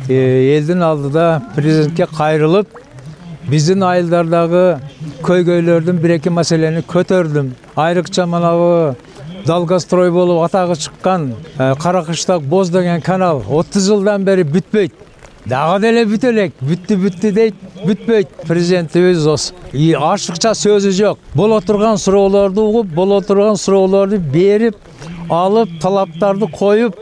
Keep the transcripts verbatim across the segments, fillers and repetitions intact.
элдин алдыда президентке кайрылып, биздин айылдардагы көйгөйлөрдүн бир эки маселени көтөрдүм. Айрыкча манагы Долгострой болуп атагы чыккан Каракыштак Боз деген канал отуз жылдан бери бүтпөйт. Дагы деле бүтө элек, бүттү бүттү дейт, бүтпөйт. Президентибиз ашыкча сөзү жок. Боло турган суроолорду угуп, боло турган суроолорду берип, алып, талаптарды коюп,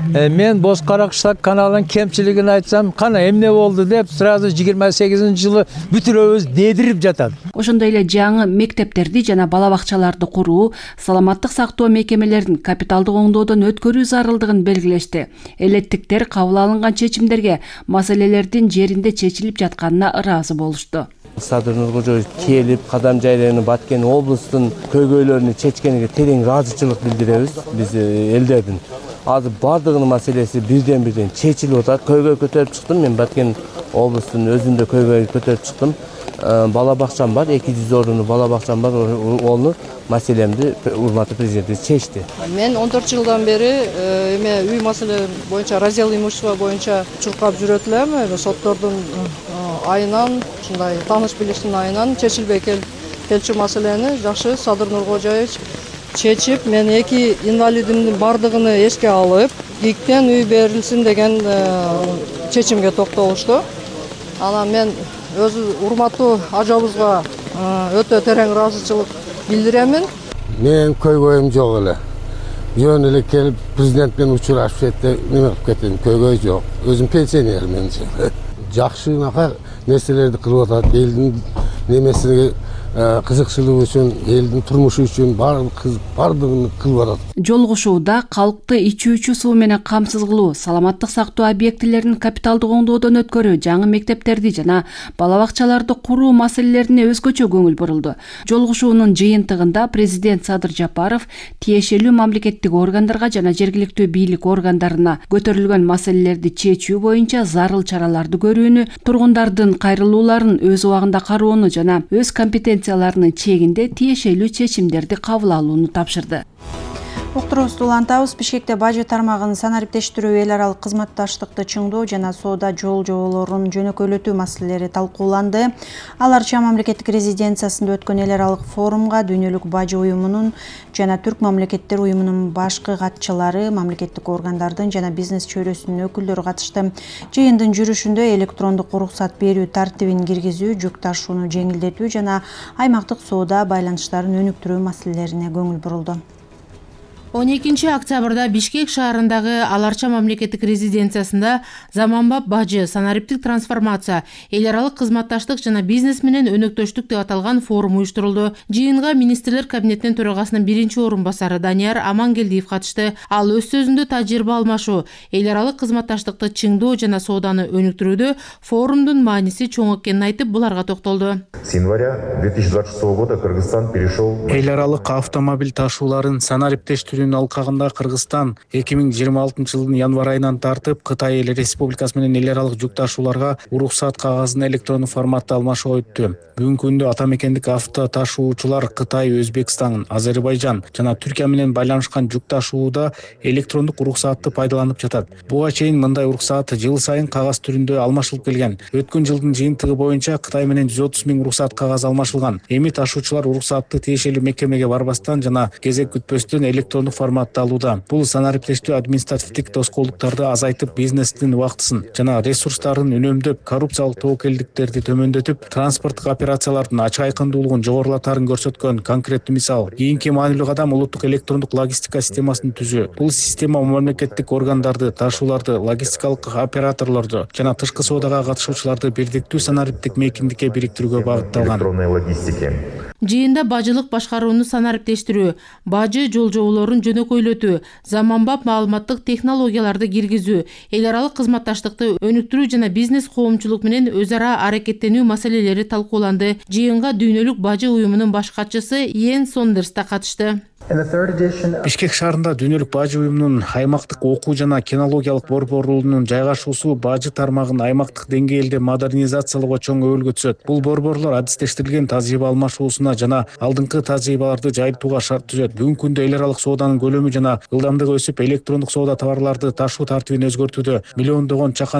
мен Боз Каракыштак каналынын кемчилигин айтсам, кана эмне болду деп, сразу жыйырма сегизинчи жылы бүтүрөбүз дедирип жатат. Ошондой эле жаңы мектептерди жана бала бакчаларды куруу, саламаттык сактоо мекемелерин капиталдык оңдоодон өткөрүү зарылдыгын белгилешти. Элеттиктер кабыл алынган чечимдерге маселелердин жеринде чечилип жатканына ыраазы болушту. Садыр Нуркожоевич келип, кадам жайларына Баткен облустун көйгөйлөрүнү чечкениге терең ыраазычылык билдиребиз биз элдердин. Азыр бардыгынын маселеси бирден-бирден чечилип атат. Көйгөй көтөрүп чыктым, мен Баткен облустунун өзүндө көйгөй көтөрүп чыктым. Бала бакчам бар, эки жүз орунлуу бала бакчам бар, ону маселемди урматтуу президентибиз чечти. Мен он төрт жылдан бери эме үй маселе боюнча раздел имущества боюнча чуркап жүрөт элем. Соттордун айынан, ушундай тааныш билиштин айынан чечилбей келчү маселени жакшы Садыр Нуркожоевич чечип, мен эки инвалидимдин бардыгыны эске алып, ИКТен үй берилсин деген чечимге токтолушту. Анан мен өз урматтуу ажабызга өтө терең ыраазычылык билдиремин. Мен көйгөйүм жок эле. Жөн эле келип президент менен учурашып кетти, неме кылып кеттим, көйгөй жок. Өзүм пенсионер менчи. Жакшынака нерселерди кылып атат, элдин немесине кызыкчылыгы үчүн, элдин турмушу үчүн бардыгын кылып атат. Жолугушууда калкты ичүүчү суу менен камсыз кылуу, саламаттык сактоо объектилерин капиталдык оңдоодон өткөрүү, жаңы мектептерди жана бала бакчаларды куруу маселелерине өзгөчө көңүл бурулду. Жолугушуунун жыйынтыгында президент Садыр Жапаров тиешелүү мамлекеттик органдарга жана жергиликтүү бийлик органдарына көтөрүлгөн маселелерди чечүү боюнча зарыл чараларды көрүүнү, тургундардын кайрылууларын өз убагында кароону жана өз компетенцияларынын чегинде тиешелүү чечимдерди кабыл алууну тапшырды. Уктуруубузду улантабыз. Бишкекте бажы тармагын санариптештирүү, эл аралык кызматташтыкты чыңдоо жана соода жол жоболорун жөнөкөйлөтүү маселелери талкууланды. Ал Арча мамлекеттик резиденциясында өткөн эл аралык форумга дүйнөлүк бажы уюмунун жана Түрк мамлекеттер уюмунун башкы катчылары, мамлекеттик органдардын жана бизнес чөйрөсүнүн өкүлдөрү катышты. Жыйындын жүрүшүндө электрондук уруксат берүү тартибин киргизүү, жүк ташууну жеңилдетүү жана аймактык соода байланыштарын өнүктүрүү маселелерине көңүл бурулду. он экинчи октябрда Бишкек шаарындагы Ал Арча мамлекеттик резиденциясында заманбап бажы, санариптик трансформация, эл аралык кызматташтык жана бизнес менен өнөктөштүк деп аталган форум уюштурулду. Жыйынга министрлер кабинетинин төрагасынын биринчи орун басары Данияр Амангелдиев катышты. Ал өз сөзүндө тажрыйба алмашуу, эл аралык кызматташтыкты чыңдоо жана сооданы өнүктүрүүдө форумдун мааниси чоң экенин айтып, буларга токтолду. С января две тысячи двадцать шестого года Кыргызстан перешел. Эл аралык автомобиль ташууларын санариптештирүү алкагында Кыргызстан эки миң жыйырма алтынчы жылдын январь айынан тартып Кытай Эл Республикасы менен эл аралык жүк ташууларга уруксат кагазын электрондук форматта алмашууга өттү. Бүгүнкү күндө ата мекендик авто ташуучулар Кытай, Өзбекстан, Азербайжан жана Түркия менен байланышкан жүк ташууда электрондук уруксатты пайдаланып жатат. Буга чейин мындай уруксат жыл сайын кагаз түрүндө алмашылып келген. Өткөн жылдын жыйынтыгы боюнча Кытай менен жүз отуз миң уруксат кагаз алмашылган. Эми ташуучулар уруксатты тиешелүү мекемеге барбастан жана кезек күтпөстөн электрондук форматта алууда. Бул санариптештүү административдик тоскоолдуктарды азайтып, бизнестин убактысын жана ресурстарын үнөмдөп, коррупциялык тобокелдиктерди төмөндөтүп, транспорттук операциялардын ачык айкындуулугун жогорулатарын көрсөткөн конкреттүү мисал. Кийинки маанилүү кадам улуттук электрондук логистика системасын түзүү. Бул система мамлекеттик органдарды, ташууларды, логистикалык операторлорду жана тышкы соодага катышуучуларды бирдиктүү санариптик мейкиндикке бириктирүүгө багытталган. Жыйында бажылык башкарууну санариптештирүү, бажы жол жоболорун жөнөкөйлөтүү, заманбап маалыматтык технологияларды киргизүү, эл аралык кызматташтыкты өнүктүрүү жана бизнес коомчулук менен өз ара аракеттенүү маселелери талкууланды. Жыйынга дүйнөлүк бажы уюмунун баш катчысы Йен Сондерс да катышты. Бишкек шаарында дүйнөлүк бажы уюмунун аймактык окуу жана кинологиялык борборунун жайгашуусу бажы тармагын аймактык деңгээлде модернизациялоого чоң өбөлгө түзөт. Бул борборлор адистештирилген тажрыйба алмашуусуна жана алдыңкы тажрыйбаларды жайылтууга шарт түзөт. Бүгүнкү күндө эл аралык сооданын көлөмү жана ылдамдыгы өсүп, электрондук соода товарларды ташуу тартибин өзгөртүүдө миллиондогон чакан